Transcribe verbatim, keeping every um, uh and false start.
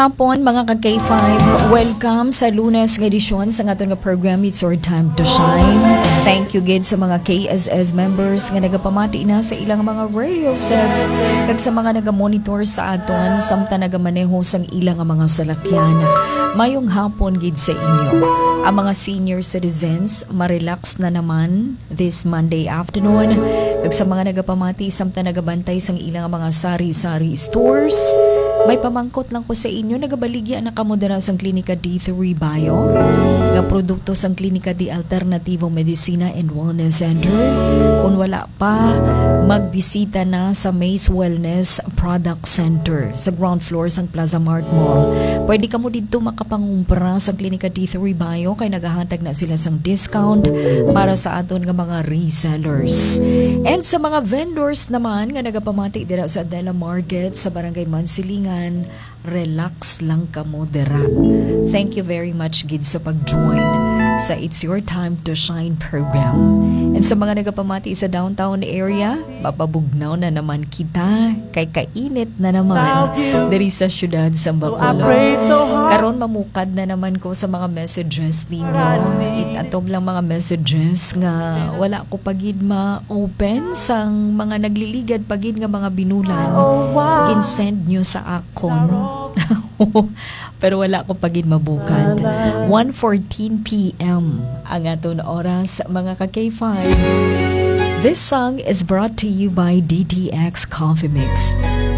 Hapon, mga ka K five. Welcome sa Lunes nga edisyon sa aton nga program, It's Your Time to Shine. Thank you gid sa mga K S S members nga nagapamati na sa ilang mga radio sets kag sa mga nagamonitor sa aton samtang nagamaneho sang ilang mga salakyan. Mayong hapon gid sa inyo. Ang mga senior citizens, ma-relax na naman this Monday afternoon. Kag sa mga nagapamati samtang nagabantay sang ilang mga sari-sari stores, may pamangkot lang ko sa inyo, nagabaligya na kamo dira sang Klinika D three Bio nga produkto sang Klinika de Alternativo Medicina and Wellness Center. Kung wala pa, magbisita na sa Maze Wellness Product Center sa ground floor sang Plaza Mart Mall. Pwede kamo didto makapangumpra sa Klinika D three Bio kay nagahatag na sila sang discount para sa aton nga mga resellers. And sa mga vendors naman nga nagapamati dira sa Adela Market sa Barangay Mansilingan, relax lang kamo dira. Thank you very much gid sa pag-join sa It's Your Time to Shine program. And sa mga nagapamati sa downtown area, mapabugnaw na naman kita kay kainit na naman diri sa siyudad sa Bacolod. Karon mamukad na naman ko sa mga messages ninyo. It-, atom lang mga messages nga wala ko pa gid ma-open sang mga nagliligad pa gid nga mga binulan. Gin-send nyo sa akon. Pero wala ko pa gid mabukad. One fourteen p m ang aton oras, mga ka K five. This song is brought to you by D T X Coffee Mix.